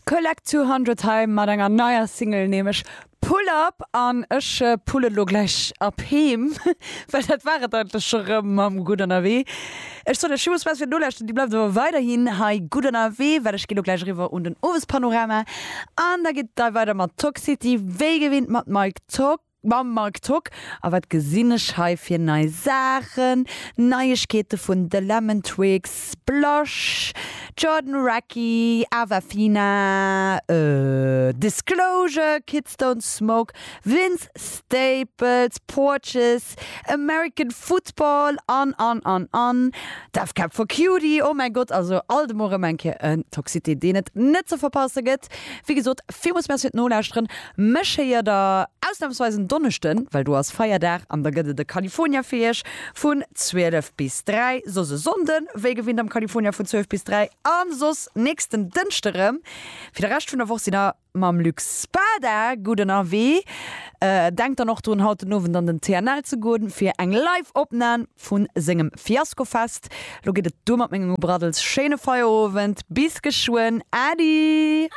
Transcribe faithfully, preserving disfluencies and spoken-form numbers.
Collect zweehonnert hei mat enger neier Single, nämlech Pull Up, an ech pullen lo gläich ab heem, well dat war et eigentlech scho rëm mam Gutt Ënnerwee. Ech soen iech villmools Merci fir d'Nolauschteren. Dir bleift awer weiderhin hei gutt ënnerwee, well ech gi lo gläich eriwwer un den Owespanorama an da geet et da weider mat Talk City, wéi gewinnt mat Mike Tock. Mam Marc Tock. A wat gesinn ech hei fir nei Saachen? Neiegkeete vun The Lemon Twigs, Blush, Jordan Rakei, Awafina, Disclosure, Kids Don't Smoke, Vince Staples, Porches, American Football an an an an Death Cab for Cutie. Oh mäi Gott, also alt emol erëm eng Kéier en Toxité, deen et net ze verpasse gëtt. Wéi gesot, villmools Merci fir d'Nolauschteren. Mech héiert der ausnamsweis en Donneschden, well do ass Feierdag an da gëtt et e California fir iech vun zwielef bis dräi, soss e Sonnden, wéi gewinnt am California vun zwielef bis dräi an soss nächsten Dënschde rëm. Fir de Rescht vun der Woch sidd der mam Luc Spada gutt ënnerwee. Denkt dann och drun, haut den Owend an den T N L ze goen fir eng Live-Opnam vu sengem Fiaskofest. Lo geet et duer mat mengem Gebraddels. Schéine Feierowend, bis geschwënn, Äddi!